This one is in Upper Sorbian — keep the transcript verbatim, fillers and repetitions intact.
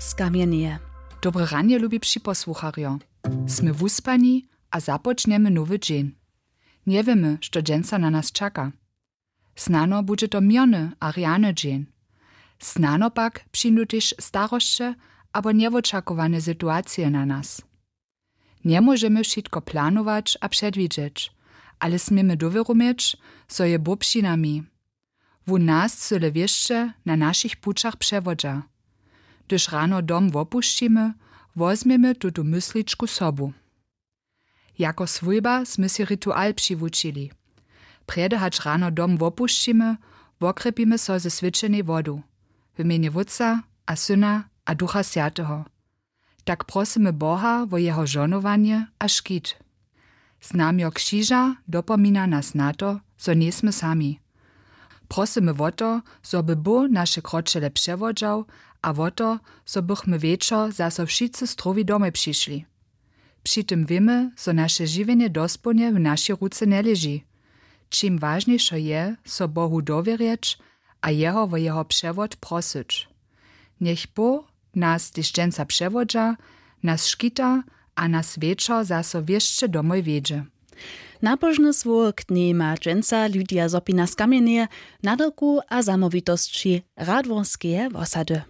Skamjeneje. Dobre ranje, lubi připosłucharjo. Smy wuspani a započnjemy nowy dźeń. Njewěmy, što dźensa na nas čaka. Snano budźe to měrny a rjany dźeń. Snano pak přińdu tež starosće abo njewočakowane situacije na nas. Njemóžemy wšitko planować a předwidźeć, ale směmy dowěru měć, zo je Bóh při nami. Wón nas cyle wěsće na našich pućach přewodźa. Hdyž rano dom wopušćimy, wozmjemy tutu mysličku sobu. Jako swójba smy sej ritual přiwučili. Prjedy hač rano dom wopušćimy, wokrjepimy so ze swjećenej wodu, w mjenje Wótca a Syna a Ducha Swjateho. Tak prosymy Boha wo jeho žohnowanje a škit. Znamjo křiža dopomina nas na to, zo njejsmy sami. Prosymy wo to, zo by Bóh naše kročele přewodźał, a wo to, zo bychmy wječor zaso wšitcy strowi domoj přišli. Při tym wěmy, zo naše žiwjenje dospołnje w našej ruce njeleži. Čim wažnišo je, so Bohu dowěrjeć a jeho wo jeho přewod prosyć. Njech Bóh nas tež dźensa přewodźa, nas škita a nas wječor zaso wěsće domoj wjedźe. Napožny słowk k njej ma dźensa Lydia Zopina z Kamjeneje, nadawku a zamołwitosći Radworskeje wosady.